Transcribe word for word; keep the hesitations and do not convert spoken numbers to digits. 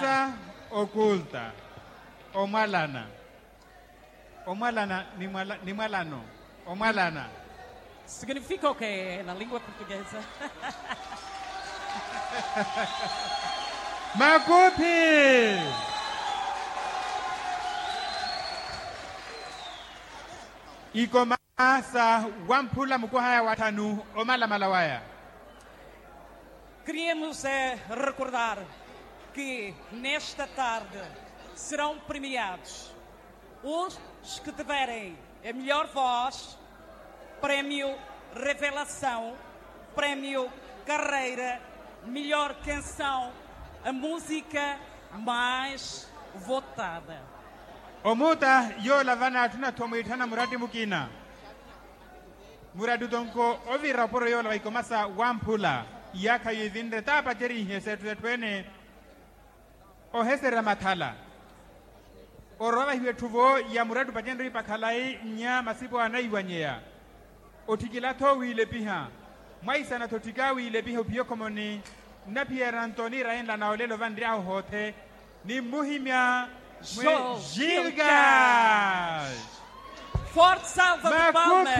Sa okulta. Omwalana. Omwalana ni mwalano. Omwalana. Significa o ke na lingua portuguesa? Makuthi. Ikoma sa wamphula mukwahaya watthanu omalamala waya. Queríamos recordar que nesta tarde serão premiados os que tiverem a melhor voz, prémio revelação, prémio carreira, melhor canção, a música mais votada. Omuta yoola vana atthu nathu omwiitthana muratti mukina. Muratti otonko ovira oporo yoola va ikoma sa wamphula. Iyaakha yiivinre taapacerihe setthu setthu ene. Oheserya mathala. Orowa vahiwa etthu vo ya muratti opacenrye ipakhalayi nnya masipo anaiwanyeya. Otthikila-tho wiilepiha. Mwaisana-tho otthika wiilepiha ophiya okhomoni. Nnaphiyerya ntoni rayenla na olelo vanry'ahu hoothe. Nimmuhimya mwe gilgal. Forte salva de palmas.